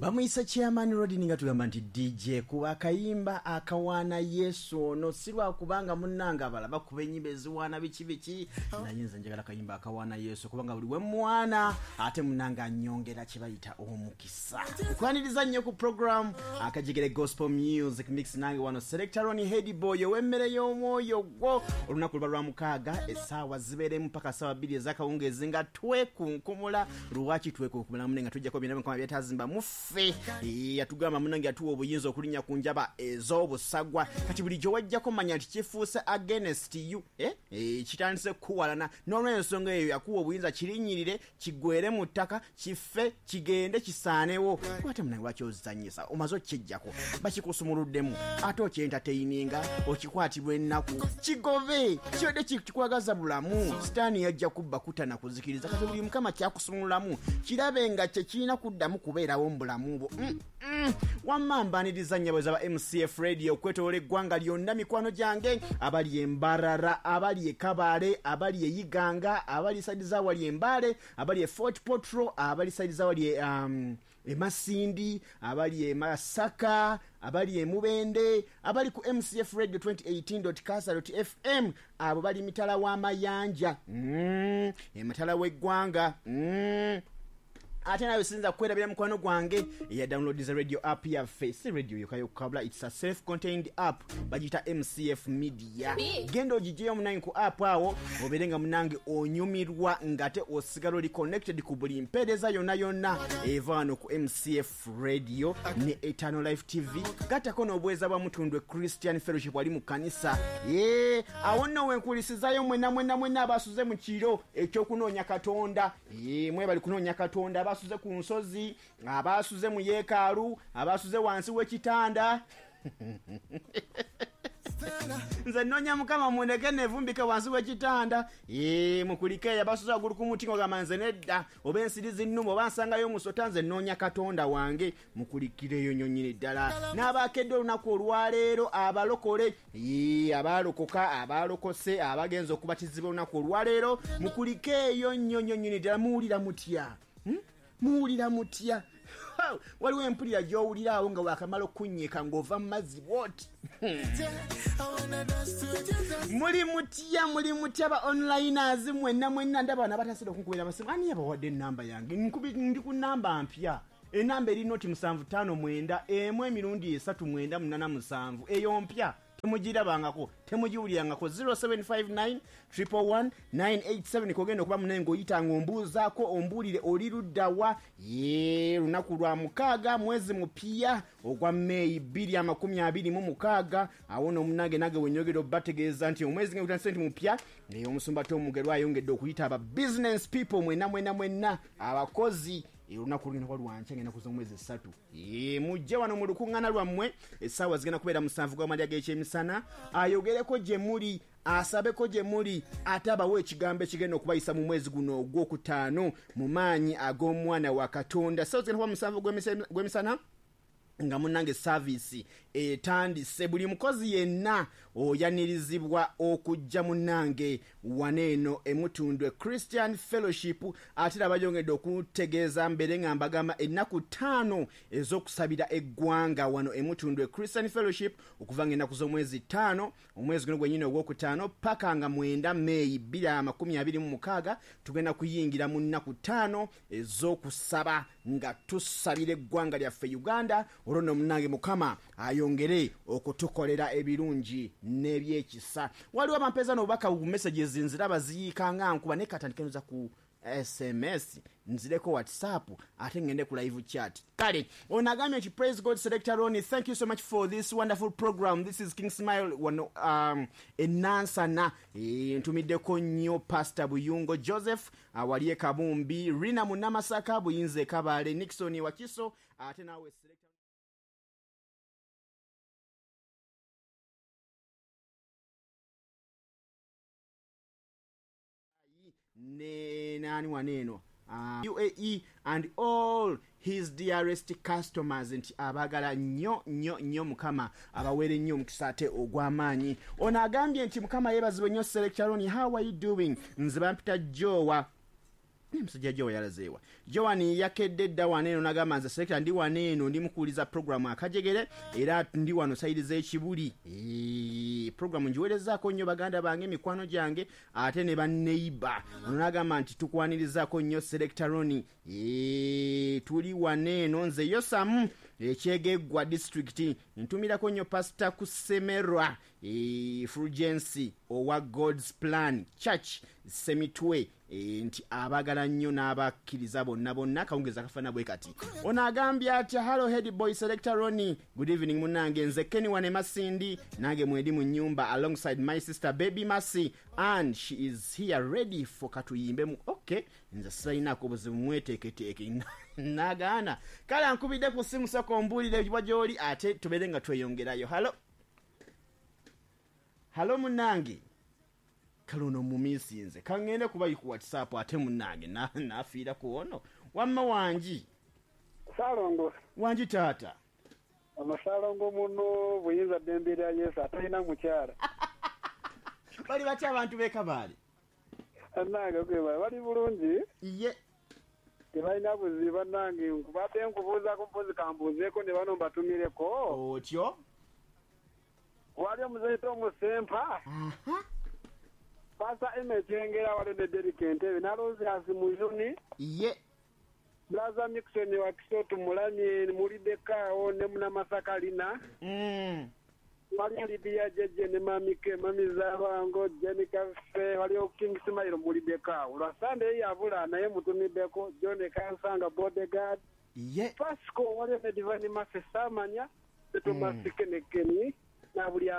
Bamuyisa Chairman Rodin, nga tugamba nti DJ kuba akayimba akawaana Yesu ono, si lwakubanga munnange abalala bakuba ennyimba eziwaana biki biki, naye nze njagala akayimba akawaana Yesu, kubanga buli we mwana ate munnange anyongera kye bayita omukisa. Nkwaniriza nnyo ku program Akajegere Gospel Music Mix, nange wano Selector Ronnie, head boy ow'emmere y'omwoyo gwo. Olunaku luba lwa mukaaga, essaawa zibeeremu paka ssaawa 2 ez'akawungeezi nga twekunkumula. Lwaki twekunkumula mune nga tujjako byonna Mukama byatazimba muffe? Yatugamba munange, yatuwa obuyinza okulinnya ku njaba ez'obusagwa. Kati buli gye wajjako manya nti kifuuse against you, kitandise kukuwalana. N'olw'ensonga eyo yakuwa obuyinza kirinnyirire, kigwere mu ttaka, kife, kigende, kisaanewo. Ate munange lwaki ozanyisa? Omaze okukijjako, bakikusumuluddemu, ate okyentateininga, okikwatibwa ennaku. Kigobe, kibadde kikwagaza bulamu. Sitaani yajja kubba, kutta na kuzikiriza. Kati buli Mukama kyakusumululamu kirabe nga kye kirina kuddamu kubeerawo mu bulamu bwo. Wamma mbaniriza nnyabo za ba MCF Radio okwetoloola eggwanga lyonna, mikwano gyange abali e Mbarara, abali e Kabale, abali e Iganga, abali saidi za wali e Mbale, abali e Fort Portal, abali saidi za wali e Masindi, abali e Masaka, abali e Mubende, abali ku MCF Radio 2018.casa.fm, abo bali mitala w'amayanja, emitala w'eggwanga. Ate nawe sinza kwerabira mukwano gwange eya downloadiza radio app yaffe. Si radio yokka yokka, it's a self contained app, bagiyita MCF Media. Genda ogigyeyo munange ku app awo, obeere nga munange onyumirwa ng'ate osigala oli connected ku buli mpeereza yonna yonna eva wano ku MCF Radio ne Eternal Life TV, gattako n'obuweereza bwa Mutundwe Christian Fellowship wali mu kkanisa. Ye awo nno wenkulisizayo mwenna mwenna mwenna abasuze mu kiro ekyokunoonya Katonda. Mwebali kunoonya Katonda, abasuze ku nsozi, abasuze mu yeekaalu, abasuze wansi w'ekitanda. Nze nnoonya Mukama, mundeke nevumbike wansi w'ekitanda. Mukulikeeyo abasuze waggulu ku muti, ng'ogamba nze nedda, oba ensiri zinnuma, oba nsangayo omusota, nze nnoonya Katonda wange. Mukulikireeyo nnyo nnyini ddala. N'abakedde olunaku olwaleero, abalokole, abaalokoka, abaalokose, abagenza okubatizibwa olunaku olwaleero, mukulikeeyo nnyo nnyo nnyini ddala. Muwulira mutya? Muwulira mutya? Waliwo empulira gy'owulira awo nga wakamala okunnyika ng'ova mu mazzi bw'oti. Muli mutya? Muli mutya ba onliners mwenna mwenna? Ndaba bano abatasira okunkubira amasimu. Ani yabawadde enamba yange? Ndi ku namba mpya. Enamba eri noti 759 1 emirundi 3 9 8 7. Eyo mpya, temugirabangako, temugiwulirangako. 0759 111 987 kogenda okuba munaye ng'oyita ng'ombuuzaako, ombuulire oli luddawa. Ye lunaku lwa mukaaga, mwezi mupya ogwa Meeyi 2026. Awo nno omunange nange wenyogera obategeeza nti omwezi nga gutandise nti mupya, omusumba Tom Mugerwa ayongedde okuyita aba business people mwenna mwenna mwenna abakozi. Olunaku olugenda kuba lwankya ng'ennaku z'omwezi 3. Mujje wano mu lukuŋŋaana lwammwe, essaawa zigenda kubeera 7 gw'amalya g'ekyemisana, ayogereko gye muli, asabeko gye muli, ate abawe ekigambo ekigenda okubayisa mu mwezi guno ogwokutaano mu maanyi ag'omwana wa Katonda. Essaawa zigenda kuba 7 gw'emisana nga munnange saaviisi etandise. Buli mukozi yenna oyanirizibwa okujja munnange wano eno Emutundwe Christian Fellowship. Ate era bayongedde okutegeeza mbeere nga mbagamba ennaku 5 ez'okusabira eggwanga wano Emutundwe Christian Fellowship, okuva ng'ennaku z'omwezi 5 omwezi guno gwennyini ogwokutaano paka nga 9 Meeyi 2026, tugenda kuyingira mu nnaku 5 ez'okusaba nga tusabira eggwanga lyaffe Uganda. Olwo nno munnange Mukama ayongere okutukolera ebirungi n'ebyekisa. Waliwo abampeeza n'obubaka bu messages, nziraba ziyiika nga nkuba, naye katandike noza ku SMS, nzireko WhatsApp, ate ngende ku live chat. Kale ono agambye nti praise God Selector Ronnie, thank you so much for this wonderful program. This is King Smile wano e Nansana. Ntumiddeko nnyo Pastor Buyungo Joseph awali e Kabumbi, Rina Munamasaka Buyinza e Kabale, Nixon Wakiso, ate naawe Selector ne nani wano eno UAE and all his dearest customers, nti abagala nnyo nnyo nnyo, Mukama abaweere nnyo omukisa ate ogw'amaanyi. Ono agambye nti Mukama yeebazibwe nnyo Selector Ronnie, how are you doing? Nze bampita Jowa. Musajja Jowa yalazeewa. Joan yakedde dda wano eno n'agamba, nze selector ndi wano eno, ndi mukuwuliza programu Akajegere, era ndi wano side z'Ekibuli. Programu ngiweerezaako nnyo baganda bange, mikwano gyange, ate ne banneiba. Ono n'agamba nti tukwanirizaako nnyo Selector Roni. Tuli wano eno, nze Yosamu Ekyegeggwa District, ntumirako nnyo Pasita Kusemerwa Fulgensi owa God's Plan Church Semitwe, nti abaagala nnyo n'abakkiriza bonna bonna. Akawungezi akafaana bwe kati. Ono agambye atya? Hallo head boy Selector Roni, good evening munange, nze Kenny wane Masindi, nange mwendi mu nyumba alongside my sister Baby Masi, and she is here ready for katuyimbemu. Okay, nze sirinaako obuzibu, mweteeketeeke. Nagaana kale ankubidde ku ssimu, sooka ombuulire wa gy'oli ate tubeere nga tweyongerayo. Hallo, hallo munnange. Kale ono mumisinze, kaŋŋende kuba ku WhatsApp ate munnange nafiira ku ono. Wamma wangi? Salongo. Wangi taata. Ono muno buyinza ddembe lya Yesu atalina mukyala. Bali batya abantu b'e Kabaale? Bannange kwebala, bali bulungi. Ye. Tebalina buzibu bannange. Nkubadde nkubuuzaako, mpozi kambuuzeeko ne bano mbatumireko. Otyo. Wali omuzeeyi Omusempa, Pasa Emekyengera, wali ne Derike Entebe naloozi Mujuni. Ye. Blaza Mixon wa Kisotu Mulamye muliddekaawo ne Munamasaka lina. Waliyo Lidiya Jeje ne Mamike Mami Zabango Jenny Kafe, waliyo King Simairo muliddekaawo. Lwa Sunday yabula naye mutumiddeko John Kansanga bodyguard. Ye. Pasco, waliyo ne Divine Mase Samanya tetumasikene na buli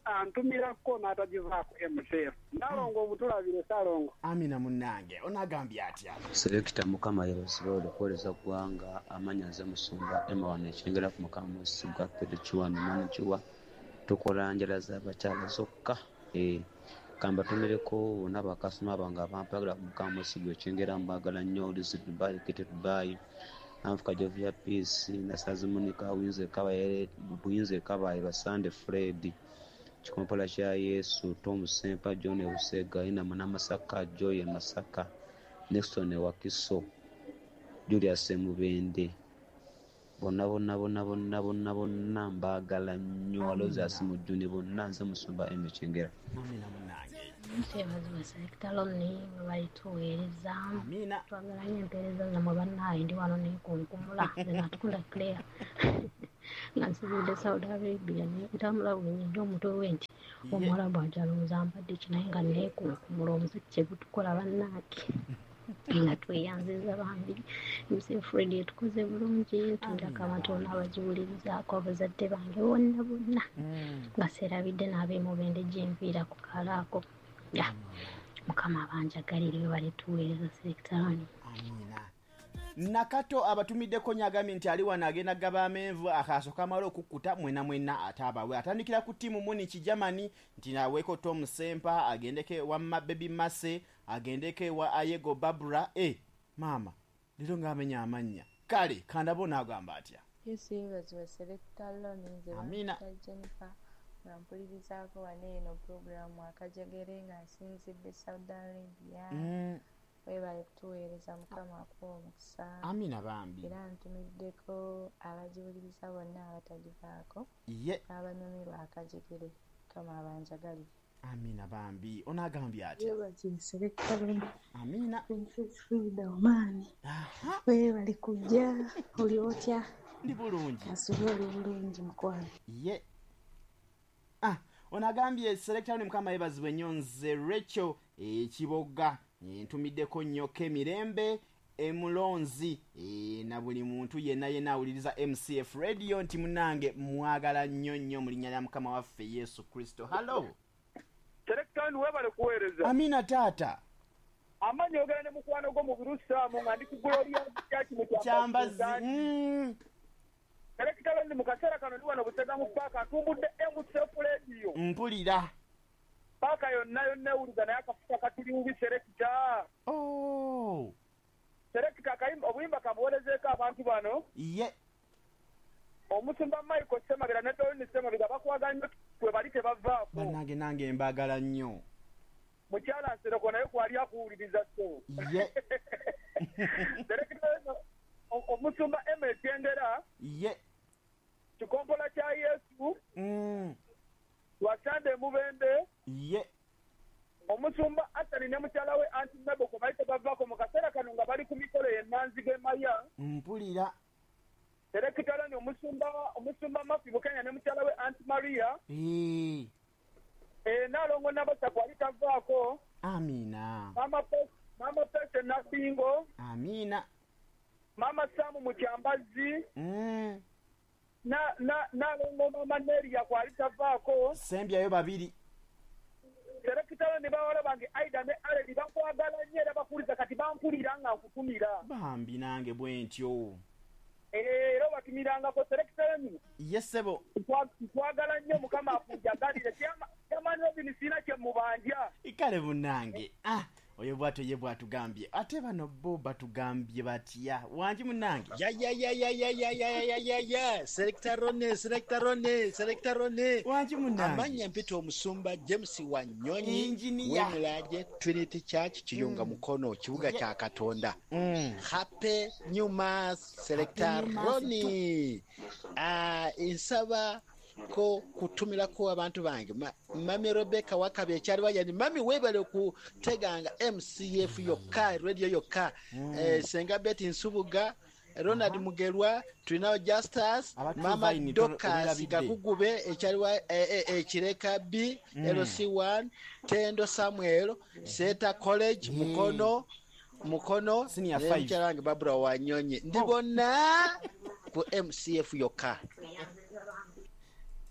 antumirako n'atagivaako MCF. Nalongo omutulabire Salongo. Amina munnange. Onagambye atya? Selector, Mukama yeebazibwe okuweereza ggwanga. Amanya nze Musumba Emma wano Ekyengera ku Mukama Mwesigwa Pedro Kiwano Manakiwa, tukola njala z'abakyala zokka. Kambatumireko bonna bakasitoma bange abampagira ku Mukama Mwesigwa Ekyengera, mbagala nnyo. Lizi Dubai, Kete Dubai, Anfuka Jovia Peace, Nasazi Monica Buyinza Kabaye, Buyinza Kabaye, Basande Fred, Kikompola kya Yesu, Tom Sempa, John Busega, Ina Munamasaka, Joy Masaka, Nixon Wakiso, Julius Mubende, bonna bonna bonna bonna bonna bonna mbaagala nnyo. Aloysius Mujuni, bonna. Nze Musumba Emekyengera. Amina munnange. Nteebazibwa Selector Loni, bwe tuweereza. Amina. Twagala nnyo empeereza zammwe bannaaye. Ndi wano neekunkumula, nze Natukunda Claire nga nsinzidde Saudi Arabia, ntambula buli nnyo omutwe we nti omuwalabu ajalowooza mbadde ki, naye nga neekunkumula omuziki kye gutukola bannange. Nga tweyanziza bambi MCF Radio, etukoze bulungi. Ntundako abantu bonna abagiwulirizaako, abazadde bange bonna bonna, nga seerabidde n'ab'emubende gyenviira ku kalaako ya Mukama abanjagalire. We bali tuweereza Selector Loni. Amina. Nakato abatumiddeko nyagambye nti ali wano agenda gaba amenvu akaaso kamala okukkuta mwena mwena, ate abawe atandikira ku ttiimu Munich Germany, nti naweeko Tom Sempa, agendeko ewa Baby Mase, agendeko ewa Ayego Babura. E maama, leero ng'amenya amannya. Kale kandabo n'agamba atya? Yesu yeebazibwe Selector Loni, nze Amina. bampita Jennifer nga mpulirizaako wano eno puroguramu Akajegere nga nsinzidde Saudi Arabia. Weebale kutuweereza, Mukama akuwa omukisa. Amina bambi. Era ntumiddeko abagiwuliriza bonna abatagivaako n'abanyumirwa Akajegere. Mukama abanjagalire. Amina bambi. Onaagambye atya? Yeebazibwe Selector Loni. Amina. Princess Frida Omaani. Weebale kujja, oli otya? Ndi bulungi. Kasubye oli bulungi mukwano. Ye. Ah, ono agambye, Selector ni Mukama yeebazibwe nnyo, nze Rachel Ekiboga, ntumiddeko nnyo Kemirembe Emulonzi, na buli muntu yenna yenna awuliriza MCF Radio, nti munange mwagala nnyo nnyo mu linnya lya Mukama waffe Yesu Kristo. Hallo. Selector, webale kuweereza. Amina taata. Amanyi ogera ne mukwano gwo mu Birusaamu nga ndi ku Gloria Church mu Kyambazi. Selector, ndi mu kaseera kano ndi wano Busega mu paaka, ntumbudde MCF Radio. Mpulira. Paaka yonna yonna ewuliza, naye akafuka katuli bubi, Selector. Oh. Selector, akayimba obuyimba kamuwerezeeko abantu bano. Ye. Omusumba Michael Ssemabira ne Dolini Ssemabira bakwagala nnyo, kwe bali tebavaako. Bannange, nange mbaagala nnyo. Mukyala Nsereko naye kwali akuwuliriza so. Ye. Omusumba Emma Kyengera. Ye. Kikompola kya Yesu. Wasande Mubembe. Ye. Omusumba Asani ne mukyala we Aunty Mabel ko baite bavako mu kaseera kano nga bali ku mikolo y'Enanzige Maya. Mpulira. Serekitala ni omusumba Mafi Bukenya ne mukyala we Aunty Maria. Nalongo Nabasa kwali tavaako. Amina. Mama Pese Nasingo. Amina. Mama Samu Mukyambazi. Nalongo Mama Neria kwali tavaako. Sembyayo babiri. Serekitala ne bawala bange Aida ne Aledi bakwagala nnyo era bakuliza kati bankulira nga nkutumira. Bambi nange bwe ntyo. Era batumirangako Serekitala ni. Yes sebo. Nkwagala nnyo Mukama akunjagalire. Kyamaani Robin sina kye mubanja. Ikale munnange. Oyo bwatyo ye bwatugambye. Ate bano bo batugambye batya. Wangi munnange. Ya ya ya ya ya ya ya ya ya ya. Selector Ronnie, Selector Ronnie, Selector Ronnie. Wangi munnange. Amanya mpita omusumba James Wanyonyi. Engineer. Wemulaje Trinity Church Kiyunga Mukono kibuga kya Katonda. Happy New Mass Selector Ronnie. Insaba ko kutumirako abantu bange Mami Rebecca wakabe ekyaliwa yani mami webale kuteganga MCF yokka radio yokka Senga Betty Nsubuga Ronald Mugerwa tulinawo Justus Mama Dorcas Gakugube ekyaliwa Ekireka B LC1 Tendo Samuel Seta College Mukono Mukono Senior 5 Barbara Wanyonyi ndi bonna ku MCF yokka.